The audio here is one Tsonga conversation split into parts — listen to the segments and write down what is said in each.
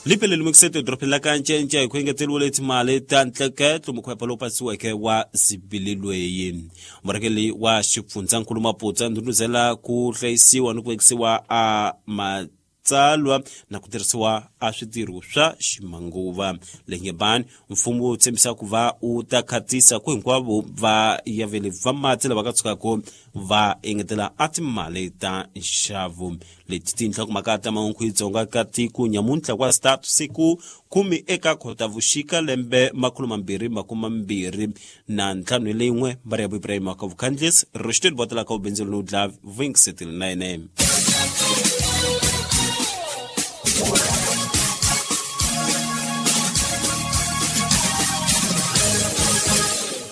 Lipele lumekisete edorobeni la ka Ncenche hi ku engeteriwa timali ta ntleketlo mukhwepa lowu pasiweke wa zibililweyi. Murhangeri wa xifundzankulu Maputsa ndhundhuzela ku hlayisiwa ni ku vekisiwa a matsalwa na ku tirhisiwa a switirho swa ximanguva. Lengebani mfumo wu tshembisa ku va wu ta khatisa ku hinkwavo va yaveli va mati lava ka tshukaka va engetela a timali ta nxavo. Leti tinhlokomhaka ta mahungu hi Dzonga ka tiko nyamuntlha kwa start siku 10 eka Khotavuxika lembe 2025 leyin'we Maria Ibrahim ka Vukhandlisi Rushdie Botela ka Ubenzelo no dla Vink 9.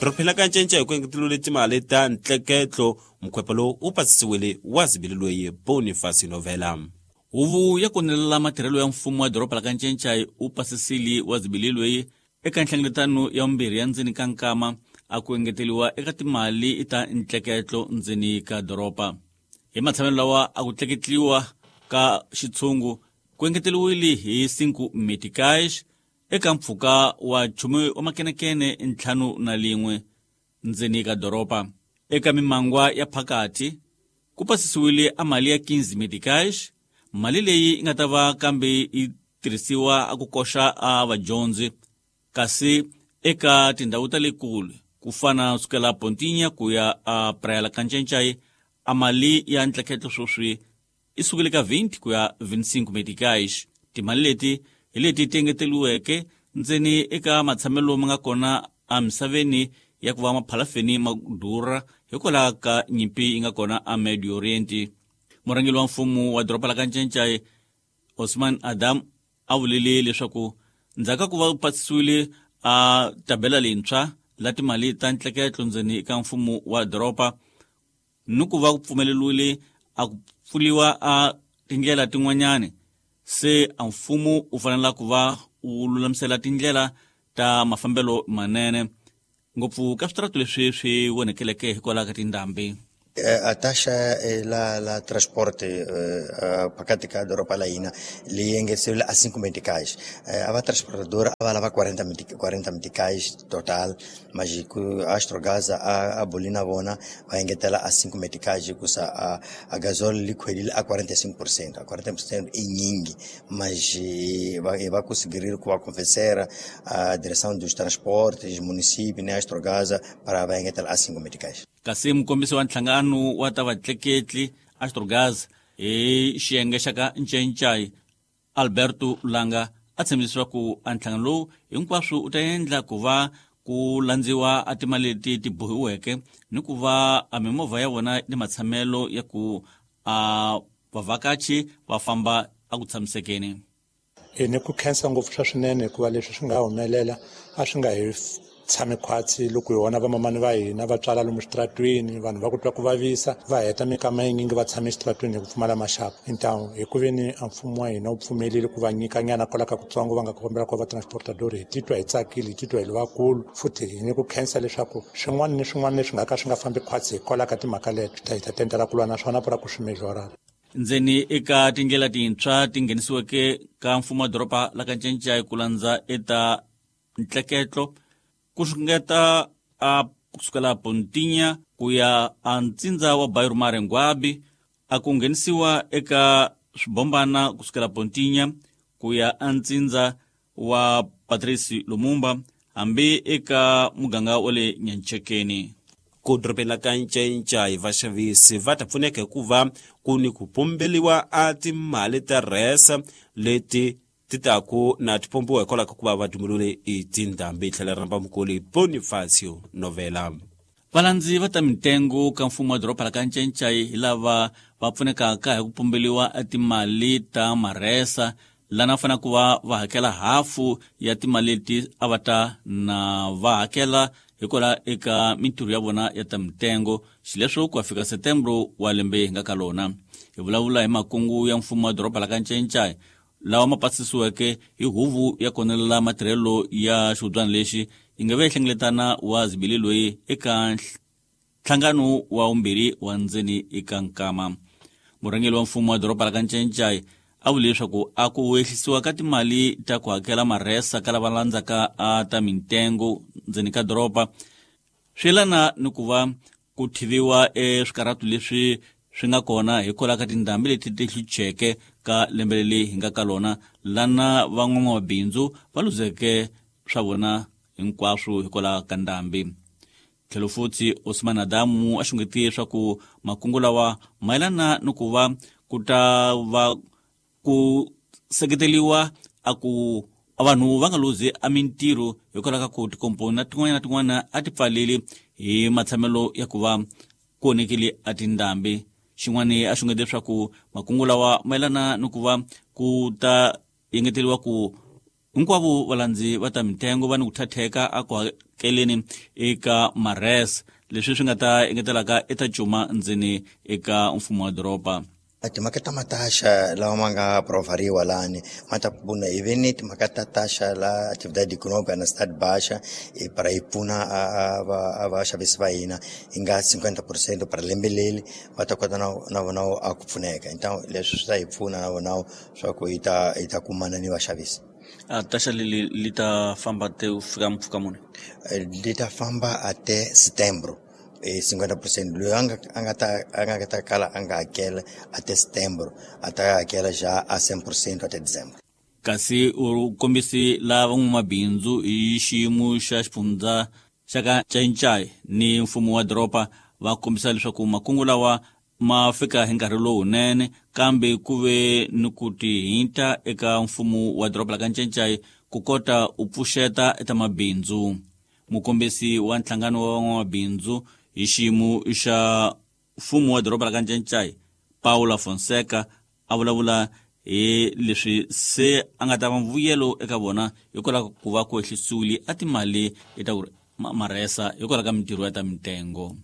Riphela ka ncence hi ku engetelule timali ta ntleketlo mukhwepa lowu wu pasisiwile wa zibililweyi Boniface Novela. Huvo ya konelela matirhelo ya mfumo wa doroba la ka Ncencai wu pasisile wa zibililweyi eka nhlengeletano ya vumbirhi ya ndzeni ka nkama a ku engeteliwa eka timali ta ntleketlo ndzeni ka doroba. Hi matshamelo lawa a ku tleketliwa ka xitshungu ku engeteliwile hi 5 meticais eka mpfhuka wa 10 wa makenekene 51 ndzeni ka doroba. Eka mimangwa ya phakathi ku pasisiwile a mali ya 15 meticais, mali leyi yi nga ta va kambe yi tirhisiwa a ku koxa a vadyondzi, kasi eka tindhawu ta le kule ku fana sukela Pontinha ku ya a Praia la ka Ncencai a mali ya ntleketlo sweswi yi sukile ka 20 ku ya 25 meticais. Timali leti hi leti ti engeteliweke ndzeni eka matshamelo ma nga kona emisaveni ya ku va maphalafeni ma durha hikwalaho ka nyimpi yi nga kona a Medio Oriente. Murhangeri wa mfumo wa doroba la ka Ncencai Osman Adam a vulile leswaku ndzhaku ka ku va pasisiwile a tabela leyintshwa la timali ta ntleketlo ndzeni ka mfumo wa doroba ni ku va ku pfumeleriwile a ku pfuliwa a tindlela tin'wanyani, se a mfumo wu fanela ku va wu lulamisela tindlela ta mafambelo manene ngopfu ka switaratu leswi swi vonekeleke hikwalaho ka tindhambi. A taxa la transporte phakathi ka doroba la hina leyi engeteriwile a 5 meticais. A va transportadora a va lava 40 meticais total, mas ku Astrogás a boli na vona va engetela a 5 meticais hikusa a gasol li khwelile a 45%. A 40% i nyingi, mas va conseguir ku va convencer a direção dos transportes, município ne Astrogás para va engetela a 5 meticais. Kasi mukombisi wa nhlangano wa ta vatleketli Astrogás hi xiyenge xa ka Ncencai Alberto Langa a tshembisa leswaku a nhlangano lowu hinkwaswo wu ta endla ku va ku landziwa a timali leti ti bohiweke ni ku va a mimovha ya vona ni matshamelo ya ku a vavhakachi va famba a ku tshamisekeni. Ni ku khensa ngopfu swa swinene hikuva leswi swi nga humelela a swi nga hi tshami khwatsi loko hi vona vamamani va hina va tswala lomu switaratwini, vanhu va ku twa ku vavisa va heta minkama yinyingi va tshame exitaratwini hi ku pfumala maxaka. Então hi ku veni a mfumo wa hina wu pfumelile ku va nyika nyana kwala ka kutsongo va nga kombela ku va transportador, hi titwa hi tsakile, hi titwa hi ri vakulu futhi hi ni ku khensa leswaku swin'wana ni swin'wana leswi nga ka swi nga fambi khwatsi hikwalaho ka timhaka leto hi ta tendela ku lwa na swona pura ku swi mejora. Ndzeni eka tindlela tintshwa ti nghenisiweke ka mfumo wa doroba la ka Ncencai ku landza eta ntleketlo ku xungeta a kusukela Pontinha ku ya a ntsindza wa Bairro Mare Ngwabi, a ku nghenisiwa eka swibombana kusukela Pontinha ku ya a ntsindza wa Patrice Lumumba hambi eka muganga wa le Nyanchekeni. Ku dorobeni la ka Ncencai vaxavisi va ta pfuneka hikuva ku ni ku pumbeliwa a timali ta rhesa leti ti taku na ti pompiwa hikwalaho ka ku va va dumulule i tindhambi. Tlhela rhamba mukuli Bonifacio Novela. Valandzi va ta mitengo ka mfumo wa doroba la ka Ncencai hi lava va pfunekaka hi ku pumbeliwa timali ta marhesa lana fanele ku va va hakela hafu ya timali leti a va ta na va hakela hikwalaho eka mintirho ya vona ya ta mitengo, xileswo ku ya fika Setembro wa lembe hi nga ka lona. Hi vulavula hi makungu ya mfumo wa doroba la ka Ncencai lawa ma pasisiweke hi huvo ya konelela matirhelo ya xihubyana lexi yi nga ve hlengeletana wa zibili loyi eka nhlangano wa vumbirhi wa ndzeni eka nkama. Murhangeri wa mfumo wa doroba la ka Ncencai A vule leswaku a ku ehlisiwa ka timali ta ku hakela marhesa ka lava landzaka a ta mintengo ndzeni ka doroba swi yelana ni ku va ku thiviwa eswikarhatu leswi swi nga kona hikwalaho ka tindhambi leti ti hlucheke ka lembe leri hi nga ka lona, lana van'wamabindzu va luzeke swa vona hinkwaswo hikwalaho ka ndhambi. Tlhelo futhi Osman Adamu a xungetiye leswaku makungu lawa mayelana ni ku va ku ta va ku seketeriwa a ku vanhu va nga luzi a mintirho hikwalaho ka ku tikomponi na tin'wana na tin'wana a ti pfaleli hi matshamelo ya ku va ku onhekile a tindhambi. Xin'wana a xungete leswaku makungu lawa mayelana ni ku va ku ta engeteriwa ku hinkwavo valandzi va ta mitengo va ni ku thatheka a ku hakeleni eka mares, leswi swi nga ta engetelaka eta cuma ndzeni eka mfumo wa doroba. Timhaka ta mataxa lawa ma nga provariwa lani ma ta pfuna hi ve ni timhaka ta taxa la atividade econômica na cidade baixa para yi pfuna a vaxavisi va hina yi nga 50% para lembe leri va ta kota na vona a ku pfuneka. Então leswi swi ta hi pfuna na vona swa ku hi ta kumana ni vaxavisi. A taxa leri li ta famba te ku fika mpfhuka muni? Li ta famba até setembro. 50% loyi a nga ta kala a nga hakela até setembro a ta hakela já a 100% até dezembro. Kasi u kombisi la van'wamabindzu hi xiyimo xa xifundza xa ka Ncayincai ni mfumo wa doroba va kombisa leswaku makungu lawa ma fika hi nkarhi lowunene, kambe ku ve ni ku tihinta eka mfumo wa doroba la ka Ncayincai ku kota u pfuxeta eta mabindzu. Mukombisi wa nhlangano wa van'wamabindzu hi xiyimo xa mfumo wa doroba la ka Ncayincai Paula Fonseca a vulavula hi leswi se a nga ta va mbuyelo eka vona hikwalaho ku va ku ehlisiwile a timali eta ku marhesa hikwalaho ka mintirho ya ta mitengo.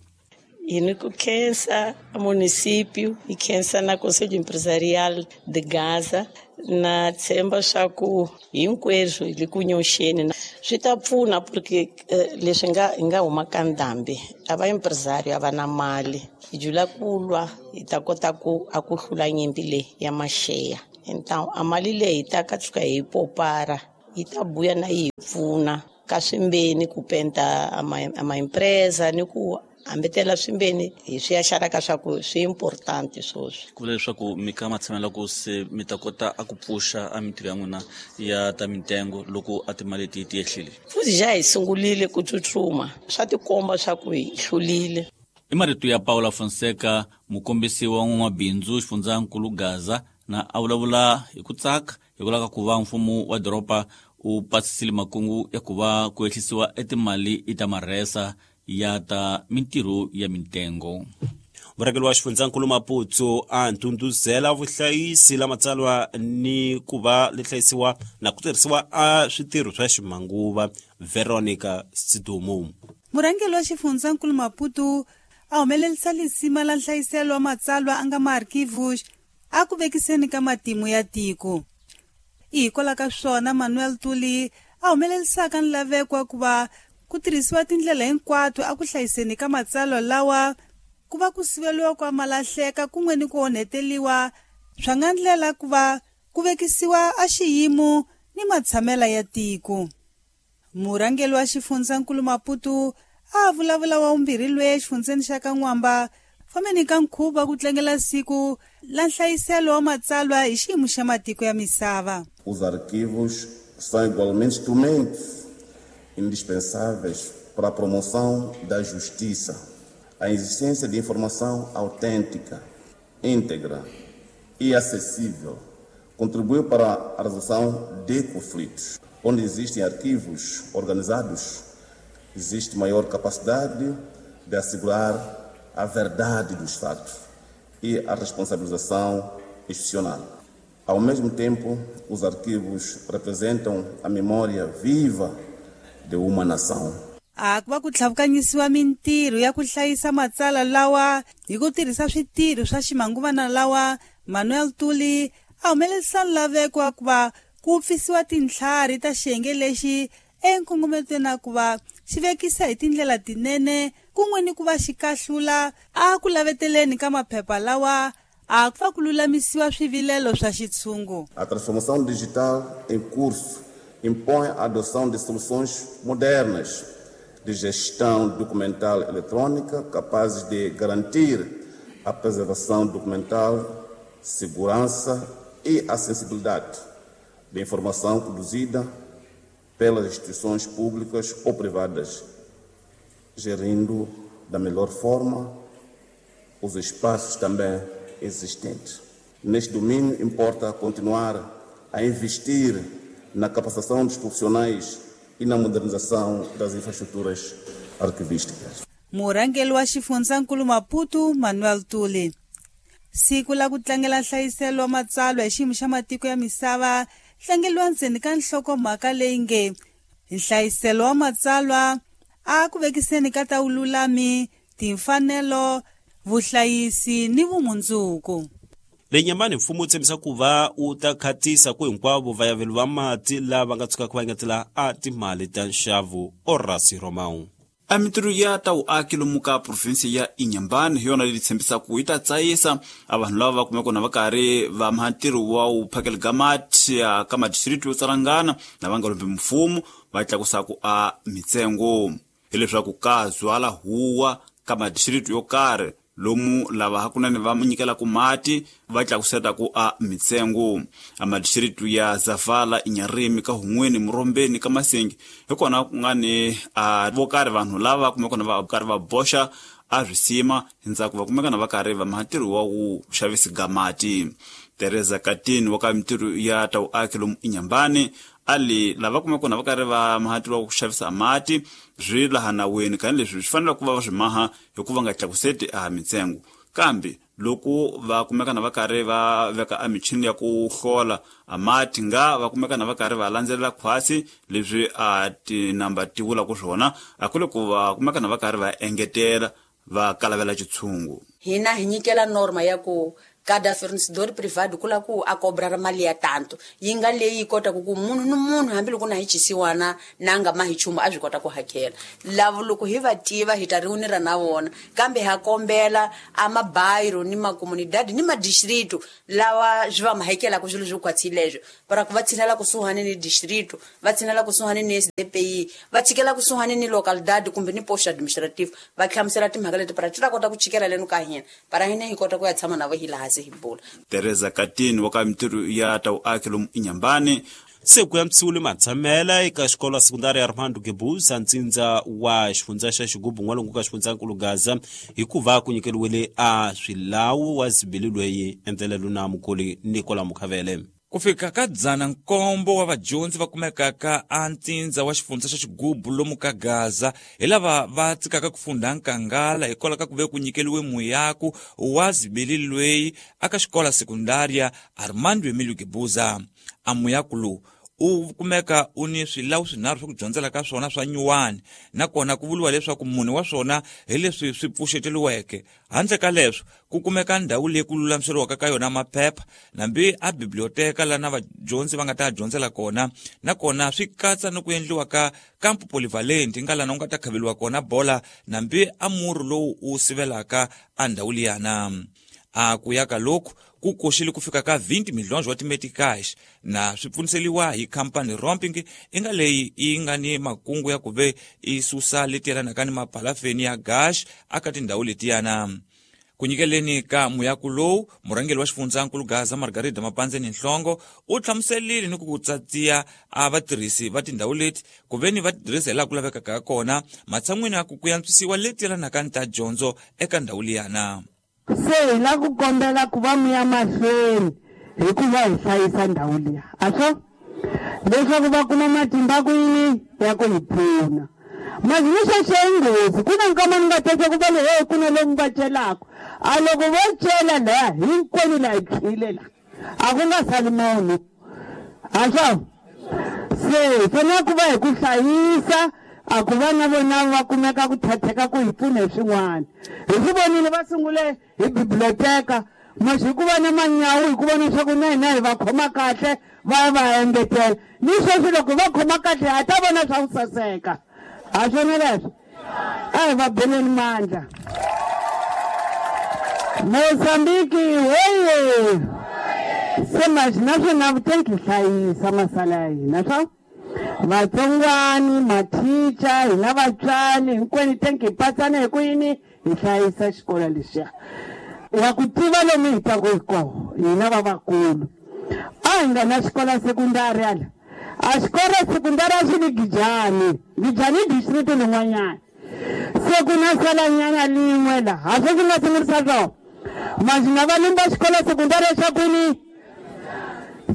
E no khensa a município e khensa na Conselho Empresarial de Gaza na tshemba swa ku hinkweswo hi le ku nyoxeni swi ta pfuna porque leswi nga huma ka ndhambi a va empresário a va na mali hi jula ku lwa hi ta kota ku a ku hlula nyimpi leyi ya maxeya. Então a mali leyi ta ka tshuka hi popara yi ta buya na yi hi pfuna ka swimbeni ku penta a ma empresa ni ku hambetela swimbeni hi swi ya xaraka swa ku swi important swoswi. Ku vula leswaku mi ka matshamela ku se mi ta kota a ku pfuxa a mintirho ya n'wina ya ta mitengo loko a timali ti ti ehlile. Futhi ja hi sungulile ku tsutsuma swa tikomba swa ku hi hlulile. I marito ya Paula Fonseca, mukombisi wa n'wamabindzu xifundzankulu Gaza, na a vulavula hi ku tsaka hikwalaho ka ku va mfumo wa doroba u pasisile makungu ya ku va ku ehlisiwa etimali ta marhesa ya ta mintirho ya mitengo. Murhangeri wa xifundzankulu Maputo a ndhundhuzela vuhlayisi la matsalwa ni ku va li hlayisiwa na ku tirhisiwa a switirho swa ximanguva. Veronica Sidumo. Murhangeri wa xifundzankulu Maputo a humelerisa lisima la nhlayiselo wa matsalwa a nga maarchivos a ku vekiseni ka matimu ya tiko. Hikwalaho ka swona Manuel Tuli a humelerisaka nlaveko wa ku va ku tirhisiwa tindlela hinkwato a ku hlayiseni ka matsalwa lawa ku va ku siveliwa kwa malahleka kun'we ni ku onheteliwa swa nga ndlela ku va ku vekisiwa a xiyimo ni matshamela ya tiko. Murhangeri wa xifundzankulu Maputo a vulavula wa vumbirhi lwe exifundzeni xa ka N'wamba fambeni ka nkhuvo ku tlangela siku la nhlayiselo wa matsalwa hi xiyimo xa matiko ya misava. Os arquivos são igualmente instrumentos indispensáveis para a promoção da justiça. A existência de informação autêntica, íntegra e acessível contribui para a resolução de conflitos. Onde existem arquivos organizados, existe maior capacidade de assegurar a verdade dos fatos e a responsabilização institucional. Ao mesmo tempo, os arquivos representam a memória viva de uma nação. A ku va ku tlhavukanyisiwa mintirho ya ku hlayisa matsalwa lawa hi ku tirhisa switirho swa ximanguvana lawa Manuel Tuli a humelerisa nlaveko wa ku va ku pfisiwa tintlhari ta xiyenge lexi enkongometweni ku va xi vekisa hi tindlela tinene kun'we ni ku va xi kahlula a ku laveteleni ka maphepha lawa A ku va ku lulamisiwa swivilelo swa xitshungu. A transformação digital em curso impõe a adoção de soluções modernas de gestão documental eletrônica capazes de garantir a preservação documental, segurança e acessibilidade da informação produzida pelas instituições públicas ou privadas, gerindo da melhor forma os espaços também existentes. Neste domínio, importa continuar a investir na capacitação dos profissionais e na modernização das infraestruturas arquivísticas. Murhangeri wa xifundzankulu Maputo Manuel Tuli. Siku la ku tlangela nhlayiselo wa matsalwa hi xiyimo xa matiko ya misava tlangeriwa ndzeni ka nhlokomhaka leyi nge nhlayiselo wa matsalwa a ku vekiseni ka ta vululami, timfanelo, vuhlayisi ni vumundzuku. Le Nyamani mfumo wu tshembisa ku va wu ta khatisa ku hinkwavo vayaveli va mati lava nga tshukaka va engetela a timali ta nxavo Orasi Romão. A mintirho ya ta vuaki lomu ka provinsi ya Inhambane hi yona leyi tshembisaka yi ta tsayisa a vanhu lava va kumeka na va karhi va maha ntirho wa wu phakela ka mati ka madistrito yo tsalangana na va nga lombi mfumo va tlakusaku a mitsengo hileswaku ka zwala huwa ka madistrito yo karhi lomu lava hakunene va nyikelaka mati va tlakusetaku a mitsengo. A madistrito ya Zavala, Inharime, ka Hun'weni, Murombeni, ka Masengi hi kona ku nga ni a vo karhi vanhu lava kumeka na va karhi va boxa a swisima ndzhaku va kumeka na va karhi va maha ntirho wa ku xavisi ga mati. Teresa Katini wa ka mintirho ya ta vuaki lomu Inhambane ali lava kumeka na va karhi va maha ntirho wa ku xavisa mati swi laha naweni kani leswi swi fanele ku va va swi maha hikuva nga tlakuseti a mitsengo, kambe loko va kumeka na va karhi va veka a michini ya ku hlola a mati nga va kumeka na va karhi va landzelela khwasi leswi a tinamba ti vulaka swona a ku le ku va kumeka na va karhi va engetela va kalavela xitshungu. Hina hi nyikela norma ya ku cada fornecedor privado kula ku a cobrar mali ya tanto yi nga leyi kotaka ku munhu ni munhu hambiloko na hi chisiwana na nga ma hi chumu a swi kota ku hakela. Lavo loko hi va tiva hi ta riunira na vona, kambe ha kombela a mabayiro ni makomunidade ni madistrito lawa swi va ma hakelaka swilo swo khwatsi leswo para ku va tshinela kusuhani ni distrito, va tshinela kusuhani ni SDPI, va tshikela kusuhani ni localidade kumbe ni post administrative, va hlamusela timhaka leti para ti ta kota ku chikela leno ka hina para hina hi kota ku ya tshama na vo hi laha. Teresa Katini wa ka mintirho ya ta vuaki lomu Inhambane. Se ku ya mtsiwile matshamela eka xikolo sekundari ya Armando Guebuza ntsindza wa xifundza xa Xigubu n'walungu ka xifundzankulu Gaza hikuva ku nyikeriwile a swilawu wa zibili lweyi endlelelo na mukoli Nicola Mukhavele. Ku fika ka 107 wa vadyondzi va kumekaka a ntsindza wa xifundza xa Xigubu lomu ka Gaza hi lava va tsikaka ku funda nkangala hikwalaho ka ku ve ku nyikeliwe muyaku wa zibili lweyi aka xikola sekundaria Armando Emilio Guebuza. A muyaku lowu u kumeka u ni swilawu swinharhu swa ku dyondzela ka swona swa nyuwani, nakona ku vuriwa leswaku mune wa swona hi leswi swi pfuxeteliweke. Handle ka leswo ku kumeka ndhawu leyi ku lulamiseriwaka ka yona maphepha nambi a biblioteka lana vadyondzi va nga ta dyondzela kona, nakona swi katsa ni ku endliwa ka campo polyvalent nga lana u nga ta khaveliwa kona bola nambi a murhi lowu u sivelaka a ndhawu liyana. A ku ya ka loku ku koxile ku fika ka 20 milhões wa timeticais na swi pfuniseliwa hi khampani Romping i nga leyi yi nga ni makungu ya ku ve i susa leti yelanaka ni mapalafeni ya gas aka tindhawu letiyana. Ku nyikeleni ka muyaku lowu, murhangeri wa xifundzankulu Gaza Margarida Mapandzeni Nhlongo u hlamuselile ni ku tsatsiya a vatirhisi va tindhawu leti ku ve ni va tirhisa hi laha ku lavekaka ha kona matshan'wini ya ku ku antswisiwa leti yelanaka ni ta dyondzo eka ndhawu liyana. Se hi la ku kombela ku va mi ya mahlweni hikuva hi hlayisa ndhawu liya a swo leswaku va kuma matimba ku yini ya ku hi pfuna. Mazwi swo nghozi ku na nkama ni nga teka ku va le hey ku na lomu va celaka a loko vo cela laha hinkwenu laha hi tshwile la a ku nga sali munhu a swo se hi fanele ku va hi ku hlayisa a ku va na vona va kumeka ku thatheka ku hi pfuna hi swin'wana. Hi swi vonile va sungule hi biblioteka masi hi ku va na manyawu hi ku vona leswaku na hina hi va khoma kahle va va engetela ni sweswi loko va khoma kahle ha ta vona swa ku saseka a swona leswo a hi va beleni mandla. Moçambique oye! Se mas naswona vutenki hlayisa masala ya hina swa vatsongwani mathicha hina vatswari hinkwenu tenki hi patsana hi ku yini hi hlayisa xikolo lexiya wa ku tiva lomu hi taku hi kona hina vavakulu a hi nga na xikolo sekundari ala a xikolo sekundari a xi ni Gijani Gijani i district lin'wanyana se ku na salanyana lin'we laha swo swi nga sungurisa swona manjhe nga va lumba xikolo sekundari xa kwini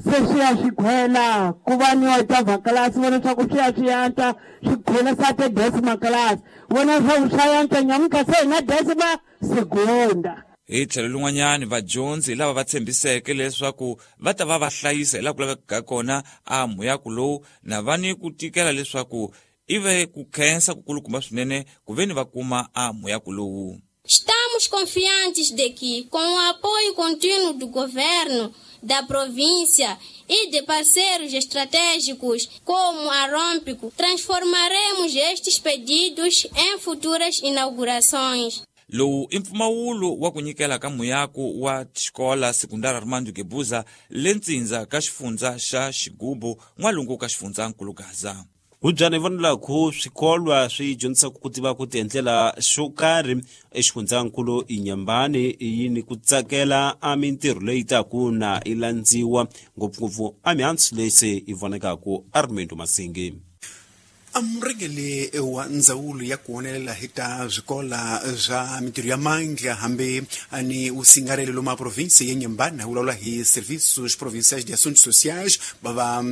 se swi ya swi khwela ku va ni otava class vona leswaku swi ya swi antswa swi khwela sa te decima class vona leswaku swa yantswa nyamuntlha se hi na decima segunda. Hi tlhelo lin'wanyani vadyondzi lava va tshembiseke leswaku va ta va va hlayisa hi laha ku lavekaka kona a muyaku lowu na va ni ku tikela leswaku i ve ku khensa kukulukumba swinene ku ve ni va kuma a muyaku lowu. Estamos confiantes de que, com o apoio contínuo do governo, da província e de parceiros estratégicos como a Rompico, transformaremos estes pedidos em futuras inaugurações. Lowu i mpfumawulo wa ku nyikela ka muyaku wa xikola sekundari Armando Guebuza le ntsindza ka xifundza xa Xigubu n'walungu ka xifundzankulu Gaza. Hubyana hi vonelaku swikolwa swi dyondzisaka ku tiva ku tiendlela xo karhi exifundzankulu Inhambane yini ku tsakela a mintirho leyi taku na yi landziwa ngopfungopfu a mihandzu leyi se yi vonekaku Armando Masingi. Amurhengeli wa ndzawulo ya ku honelela hi ta swikola swa mintirho ya mandla hambi ni usingarelo lomu a província ya Inhambane vulavula hi Serviços Provinciais de Assuntos Sociais bava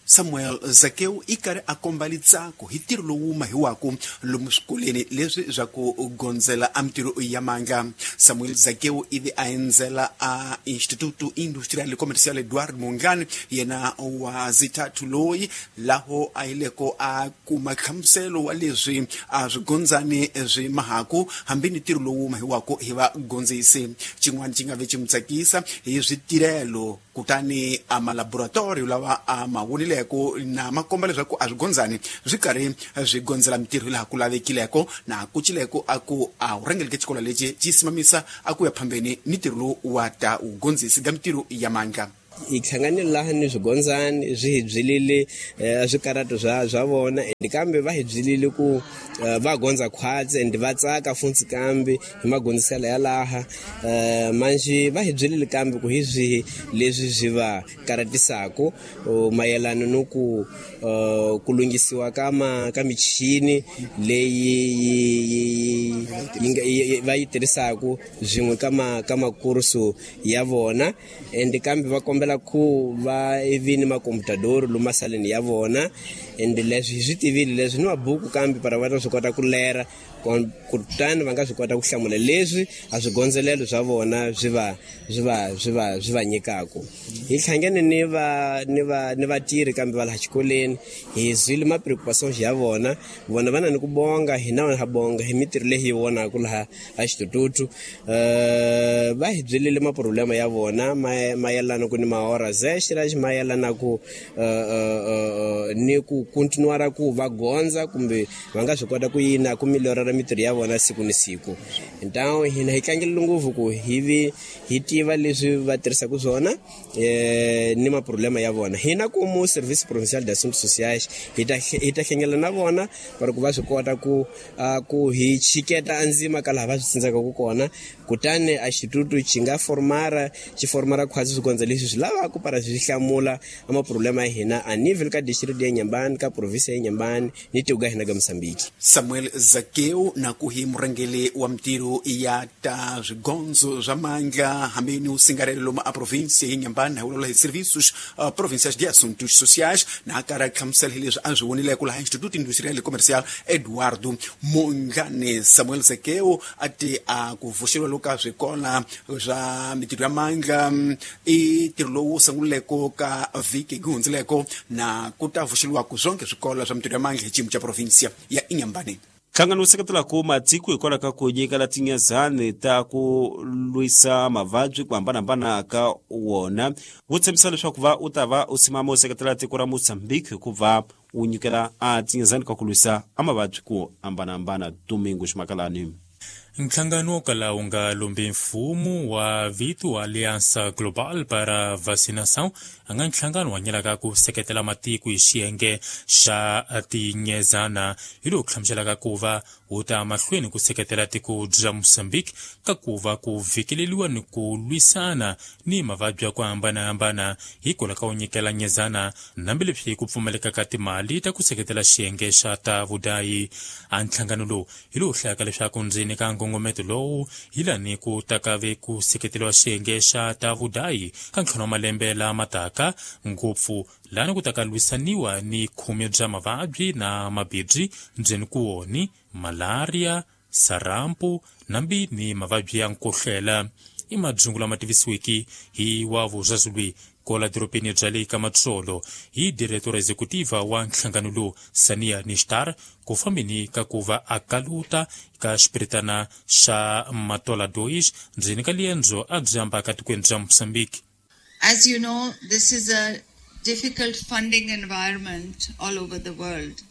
Samuel Zakeu i karhi a komba litsako hi ntirho lowu mahiwaku lomu swikolweni leswi swa ku gondzela a mintirho ya mandla. Samuel Zakeu ivi a endzela a Instituto Industrial Comercial Eduardo Mondlane yena wa zithathu loyi laho a yileko a kuma nhlamuselo wa leswi a swi gondzani swi mahaku hambi ni ntirho lowu mahiwaku hi vagondzisi. Xin'wana xi nga ve xi mu tsakisa hi switirhelo kutani a malaboratorio lawa a ma vonileko na makomba leswaku a swi gondzani swi karhi swi gondzela mintirho laha ku lavekileko na kucileko a ku a wu rhangeleke xikolo lexi xi simamisa a ku ya phambeni ni ntirho lowu wa ta wugondzisi ka mintirho ya mandla. Hi hlanganile laha ni swigondzani swi hi byelile swikarhato swa vona and kambe va hi byelile ku va gondza khwatsi and va tsaka funtsi kambe hi magondziselo ya laha manjhe va hi byelile kambe ku hi swihi leswi swi va karhatisaku mayelana no ku ku lunghisiwa ka ka michini leyi va yi tirhisaku swin'we ka makursu ya vona and kambe va kombela ku va vi ni makomputadoro lomu masaleni ya vona and leswi hi swi tivile leswi ni mabuku kambe para va ta swi kota ku lera kutani va nga swi kota ku hlamula leswi a swigondzelelo swa vona swi va nyikaku. Hi hlangene ni vatirhi kambe va laha xikolweni hi zwile ma preoccupations ya vona vona va na ni ku bonga hina ha bonga hi mintirho leyi hi vonaku laha a xitututu va hi byelile maproblema ya vona mayelana ku ni mahora zextra mayelana ku ni ku continuara ku va gondza kumbe va nga swi kota ku yina ku melhorara mintirho ya vona siku ni siku. Então hina hi tlangela ngopfu ku hi hi tiva leswi va tirhisaka swona ni maproblema ya vona. Hina como Serviço Provincial de Assuntos Sociais hi ta hlengela na vona para ku va swi kota ku hi chiketa andzima ka laha va swi tsandzekaka kona kutani a xitutu xi nga formara xi formara khwatsi swikondza leswi swi lavaka para swi hlamula a maproblema ya hina a nível ka district ya Inhambane ka província ya Inhambane ni tiko ka hina ka Moçambique. Samuel Zakeu na ku hi murhangeli wa mintirho ya ta swigondzo swa mandla hambi ni usingarelo lomu a província ya Inhambane hi vulavula hi Serviços Provinciais de Assuntos Sociais na karhi a hlamusela hi leswi a swi vonileko laha Instituto Industrial e Comercial Eduardo Mondlane. Samuel Zakeu a ti a ku vuxeriwa loka swikola swa mintirho ya mandla i ntirho lowu sunguleko ka vhiki ku hundzileko na ku ta vuxeriwaku swonke swikolo swa mintirho ya mandla hi xiyimo xa província ya Inhambane. Nhlangano wu seketelaka matiko hikwalaho ka ku nyikela tinyezani ta ku lwisa mavabyi ku hambanahambana ka wona wu tshembisa leswaku va u ta va u simama u seketela tiko ra Mozambique hikuva wu nyikela a tinyezani ka ku lwisa a mavabyi ku hambanahambana. Domingo Ximakalani. Nhlangano wo kala wu nga lombi mfumo wa vito Aliança Global para Vacinação a nga nhlangano wa nyelaka ku seketela matiko hi xiyenge xa tinyezana hi lowu hlamuselaka ku va wu ta mahlweni ku seketela tiko bya Mozambique ka ku va ku vhikeleliwa ni ku lwisana ni mavabyi ya ku hambanahambana hikwalaho ka wu nyikela nyezana hambileswi ku pfumaleka ka timali ta ku seketela xiyenge xa ta vudayi. A nhlangano lowu hi lowu hlayaka leswaku ndzeni ka nkongometo lowu hi lani ku takave ku seketeriwa xiyenge xa ta vudayi ka ntlhanu wa malembe lama taka ngopfu lani ku taka lwisaniwa ni khume bya mavabyi na mabibyi ndzeni ku woni malaria, sarampu nambi ni mavabyi ya nkohlela. I madzungu lama tivisiweke hi wa vuzazulwi kola doropeni bya le ka Matsolo hi diretora executiva wa nhlangano lowu Sania Nishtar ku fambeni ka ku va a kaluta ka xipiritana xa Matola Dois ndzeni ka liendzo a byi ambaka tikweni bya Mozambique. As you know, this is a difficult funding environment all over the world.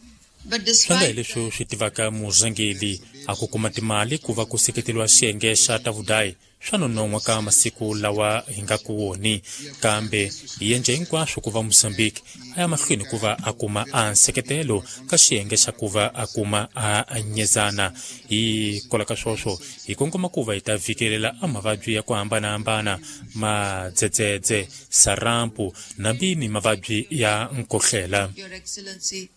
Swi nga hi leswi swi tivaka murhangeri a ku kuma timali ku va ku seketeriwa xiyenge xa ta vudayi swa nonon'hwa ka masiku lawa hi nga ku woni, kambe hi endla hinkwaswo ku va Mozambique a ya mahlweni ku va a kuma a nseketelo ka xiyenge xa ku va a kuma a nyezana. Hi kola ka swoswo hi kongoma ku va hi ta vhikelela a mavabyi ya ku hambanahambana, madzedzedze, sarampu nambi ni mavabyi ya nkohlela. Your Excellency,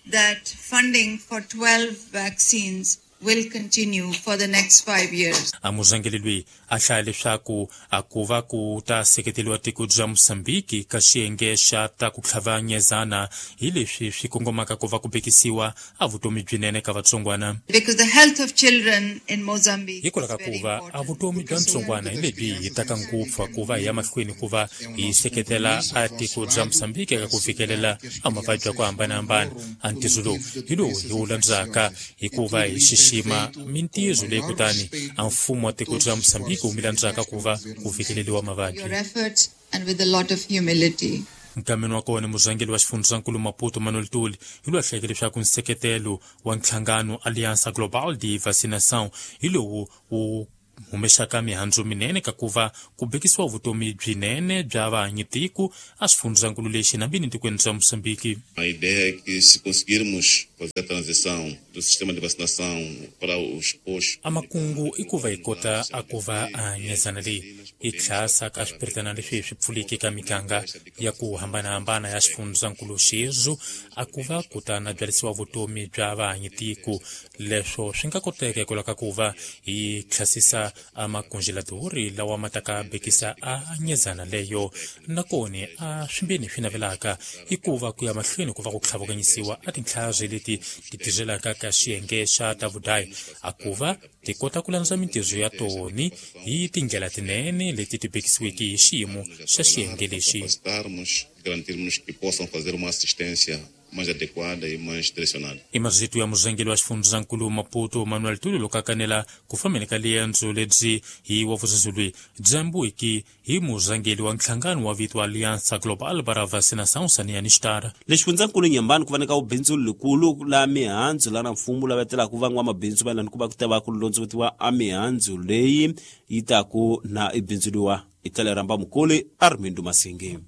that funding for 12 vaccines will continue for the next 5 years. A murhangeri loyi a hlaya leswaku a ku va ku ta seketeriwa tiko bya Mozambique ka xiyenge xa ta ku tlhava nyezana hi leswi swi kongomaka ku va ku bekisiwa a vutomi byinene ka vatsongwana. Because the health of children in Mozambique hikwalaho ka ku va a vutomi bya ntsongwana hi lebyi hi taka ngopfu ku va hi ya mahlweni ku va hi seketela a tiko bya Mozambique eka ku fikelela a mavabyi ya ku hambanahambana. A ntirho lowu hi lowu hi wu landzaka hikuva hi xixima mintirho leyi kutani a mfumo wa tiko bya Mozambique wu mi landzaka ku va ku fikeleriwa mavabyi. Your efforts and with a lot of humility. Nkameni wa kona murhangeri wa xifundzankulu Maputo Manuel Tuli hi loyi a hlayeke leswaku nseketelo wa nhlangano Aliança Global de Vacinação hi lowu wu humexaka mihandzu minene ka ku va ku bekisiwa vutomi byinene bya vahanyitiko a xifundzankulu lexi nambini tikweni bya Mozambique. A ideia é que se conseguirmos fazer a transição do sistema de vacinação para os postos. A makungu i ku va hi kota a ku va a nyezana leyi hi tlhasa ka swipiritana leswi swi pfuleke ka miganga ya ku hambanahambana ya xifundzankulu xexo a ku va kutana byarisiwa vutomi bya vahanyitiko. Leswo swi nga koteka hikwalaho ka ku va hi tlhasisa a makongeladori lawa ma taka bekisa a nyezana leyo. Nakona a swimbeni swi navelaka i ku va ku ya mahlweni ku va ku tlhavukanyisiwa a tintlhari leti ti tirhelaka ka xiyenge xa ta vudayi a ku va ti kota ku landza mintirho ya toni hi tindlela tinene leti ti bekisiweke hi xiyimo xa xiyenge lexi. Garantirmos que possam fazer uma assistência mais adequada e mais direcionada. I mazito ya murhangeri wa xifundzankulu Maputo Manuel Tuli loko a kanela ku fambeni ka liendzo lebyi hi wa vuzazulwi dyambuiki hi murhangeri wa nhlangano wa vito Aliança Global para Vacinação Sania Nishtar. Le xifundzankulu Nyambani ku va nyika vubindzu likulu la mihandzu lana mfumo lava telaka van'wamabindzu va lani ku va ku ta va ku londzovetiwa a mihandzu leyi yi taku na ibindzuliwa hi tlhela rhamba mukuli Armindo Masingi.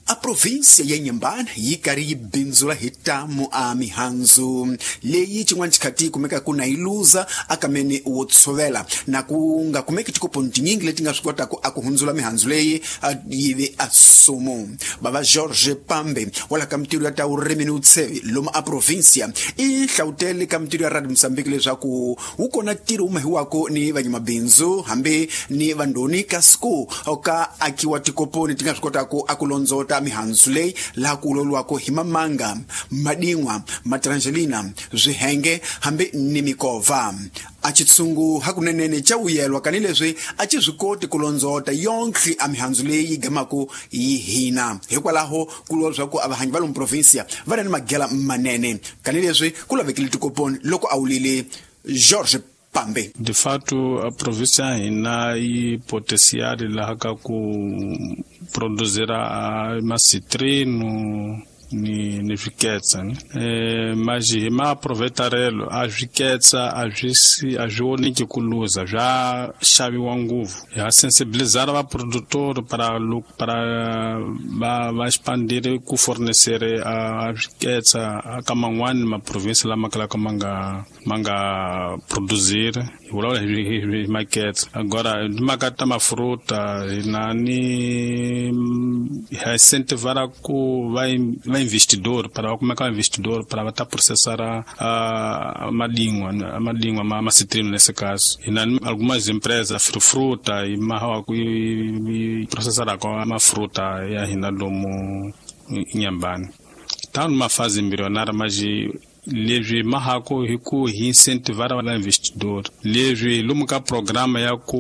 A província ya Inhambane yi karhi yi bindzula hi tamu a mihandzu leyi xin'wana xikhathi yi kumekaka na yi luza akameni wo tshovela na ku nga kumeki tikoponi tinyingi leti nga swi kotaka a ku hundzula mihandzu leyi yi ve a sumu. Bava George Pambe wala ka mintirho ya ta vurimi ni vutsheve lomu a província i hlawutele ka mintirho ya Radio Mozambique leswaku wu kona ntirho wu mahiwako ni vanyamabindzu hambi ni vandoni kasi ku ka akiwa tikoponi ti nga swi kotaka a ku londzota mihandzu leyi laha ku uloliwako hi mamanga, madin'wa, matrangelina, swihenge hambi ni mikova. A xitshungu hakunenene xa vuyelwa kanileswi a xi swi koti ku londzota yonkhe a mihandzu leyi yi gamaku yi hina. Hikwalaho ku lwa leswaku a vahanyi va lomu provinsia va ri ni magela manene kanileswi ku lavekile tikoponi loko a wulile George Pambe. De fato, a província ya hina yi potencial laha ka ku produzira macitrino, ni swiketsa ne mas hi maaproveitarelo a swiketsa a swi oniki ku luza swa xaviwa ngopfu. Ha sensibilizar va produtor para va expandir ku fornecer a swiketsa ka man'wani maprovinsi lama kalaka ma nga produzir hi vulavula hi maketsa. Agora timhaka ta mafruta hina ni ha incentivara ku va investidor para va kumeka investidor para va ta processar a madingwa ma citrino nesse caso. Hina ni algumas empresas fruta e mahawa ku processar ka mafruta ya hina lomu Inhambane. Tá numa fase embrionária, mas leswi mahako hi ku hi incentivar va investidor. Leswi lomu ka programa ya ku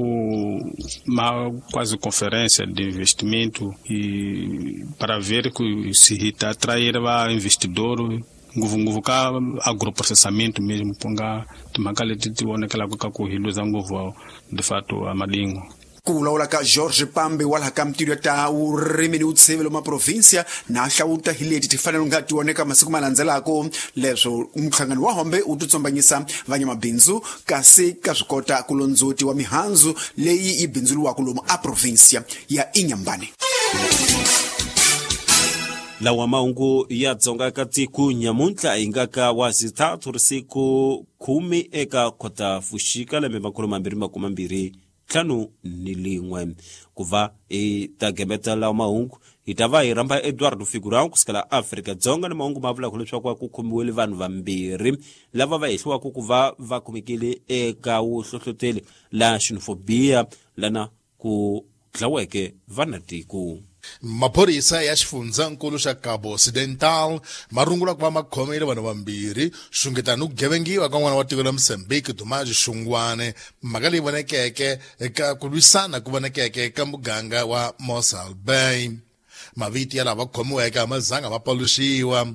ma quase conferência de investimento e para ver que se hi ta atrair va investidor ngopfungopfu ka agroprocessamento mesmo ku nga timhaka leti ti vonekelaka ka ku hi luza ngopfu de fato a madingwa. Ku vulavula ka George Pambe wa laha ka mintirho ta vurimi ni vutshevelo ma provinsia na hlawuta hi leti ti fanele nga tioneka masiku ma landzelaka leswo nhlangano wa hombe wu titsombanyisa vanyamabindzu kasi ka swi kota ku londzoti wa mihandzu leyi yi bindzuriwaka lomu a provinsia ya Inhambane. Lawa mahungu ya Dzonga ka tiko nyamuntlha hi nga ka wa xithathu siku 10 eka Khotavuxika lembe 2021 ku va hi ta gembeta lawa mahungu hi ta va hi rhamba Eduardo Figurão kusukela Afrika Dzonga ni mahungu ma vulaka leswaku ku khomiwile vanhu vambirhi lava va hehliwaka ku va va khomekile eka vuhlohloteli la xenofobia lana ku dlaweke vanatiko. Maphorisa ya xifundzankulu xa Cabo Occidental ma rungula ku va ma khomile vanhu vambirhi xungeta ni ku gevengiwa ka n'wana wa tiko la Mozambique Dumaji Xungwane, mhaka leyi vonekeke eka ku lwisana ku vonekeke ka muganga wa Mossel Bay. Mavito ya lava khomiweke a ma zanga ma paluxiwa,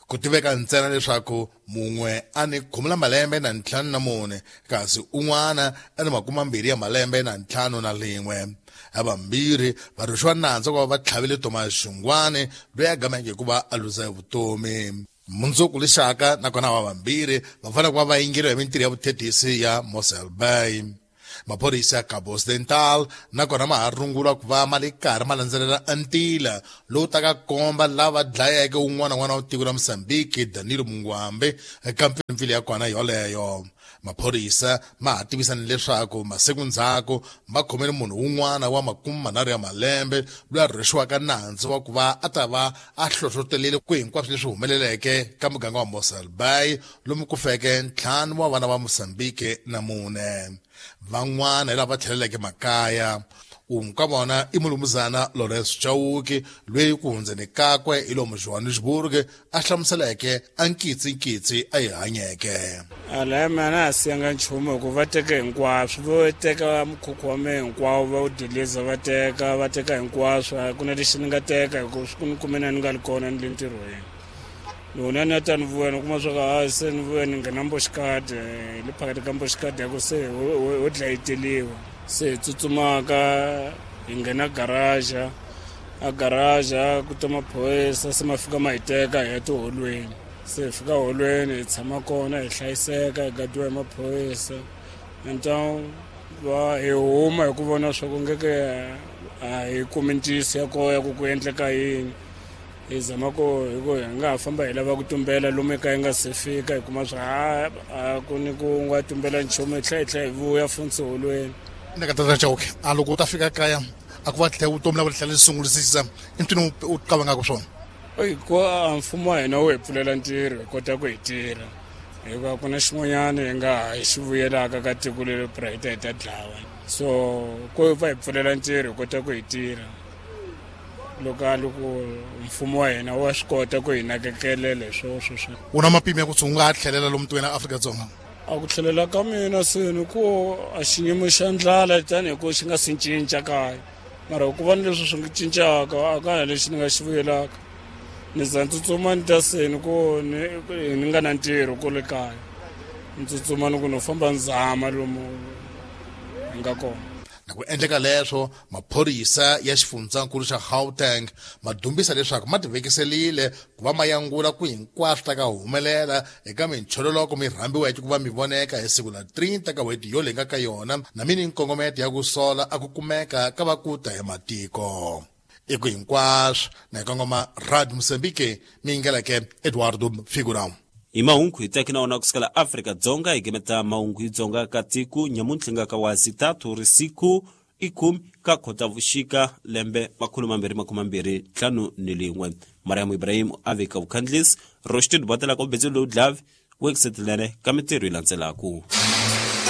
ku tiveka ntsena leswaku mun'we a ni 14 kasi un'wana a ni 25 51. Havambirhi va rhwexiwa nandzu ku va va tlhavile Thomas Xungwane loyi a gameke ku va a luza vutomi. Mundzuku lexaka nakona va vambirhi va fanele ku va va yingeriwa hi mintirho ya vuthethisi ya Mossel Bay. Maphorisa ya Cabo Occidental nakona ma ha rungula ku va ma le karhi ma landzelela ntila lowu taka komba lava dlayeke un'wana n'wana wa tiko la Mozambique Danilo Mungwambe eka mpfilumpfilu ya kona yoleyo. Maphorisa ma ha tivisa ni leswaku masiku ndzhaku ma khomele munhu un'wana wa 30 ya malembe loyi a rhwexiwaka nandzu wa ku va a ta va a hlohlotelile ku hinkwaswo leswi humeleleke ka muganga wa Mossel Bay lomu ku feke 5 wa vana va Mozambique na 4. Van'wana hi lava va tlheleleke makaya. Un'we ka vona i mulumuzana Lawrence Chauke loyi ku hundzeni kakwe hi lomu Johannesburg a hlamuseleke a nkitsinkitsi a yi hanyeke. Alaya mina a siyanga nchumu hikuva va teke hinkwaswo, vo teka mukhukhu wa mehe hinkwawo va wu diliza va teka hinkwaswo, a ku na lexi ni nga teka hikuva swi ku ni kume na ni nga li kona ni le ntirhweni. Loko ni ta ni vuya ni kuma swa ku a se ni vuya ni nghena mboxikadi le phakathi ka mboxikadi ya ku se ho dlayeteliwa. Se hi tsutsumaka hi nghena garaja, a garaja ku ta maphorisa se ma fika ma hi teka hi ya tiholweni. Se hi fika holweni hi tshama kona hi hlayiseka hi gadiwa hi maphorisa. Então va hi huma hi ku vona swa ku ngeke a hi kumi ntiyiso ya koho ya ku ku endleka yini. Hi zama ku hi ku hi nga ha famba hi lava ku tumbela lomu eka hi nga se fika hi kuma swa a ku ni ku nga tumbela nchumu hi tlhela hi vuya funtsi holweni. Ni ka tata Chauke a loko u ta fika kaya a ku va tlhela vutomi la va tlhela sungulisisa i ntwini u qavangaka swona. Ku mfumo wa hina wu hi pfulela ntirho hi kota ku hi tirha hikuva ku na xin'wanyana hi nga ha xi vuyelaka ka tiko leri pra hi ta hi ta dlawa, so ku va hi pfulela ntirho hi kota ku hi tirha. Loko mfumo wa hina wa swi kota ku hi nakekelela hi swoswo. U na mapimo ya ku u nga ha tlhelela lomu tikweni ra Afrika-Dzonga? A ku tlhelela ka mina seni ku a xiyimo xa ndlala tanihi ku xi nga si cinca kaya, mara ku va ni leswi swi nga cincaka a ka ha lexi ni nga xi vuyelaka. Ni za ni tsutsuma ni ta seni ku ni nga na ntirho kule kaya, ni tsutsuma ni ku no famba ni zama lomu hi nga kona. Na ku endleka leswo, maphorisa ya xifundzankulu xa Gauteng ma dumbisa leswaku ma tivekiselile ku va ma yangula ku hinkwaswo ta ka humelela eka minchololoko mi rhambiweke ku va mi voneka hi siku la 30 ka n'hweti yo leyi nga ka yona, na mi ni nkongometo ya ku sola a ku kumeka ka va ku ta hi matiko. I ku hinkwaswo na hi kongoma Radio Mozambique mi yingeleke Eduardo Figurão. Hi mahungu hi tsaki na wona kusukela Afrika-Dzonga hi gemeta mahungu hi Dzonga ka tiko nyamuntlha nga ka wa zitatu risiku i khume ka Khotavuxika lembe 2025. Mariam Ibrahim a vika vukhandlisi Roshid Botela ka ubetsi lowu dlavi wekisetelene ka mintirho yi landzelaku.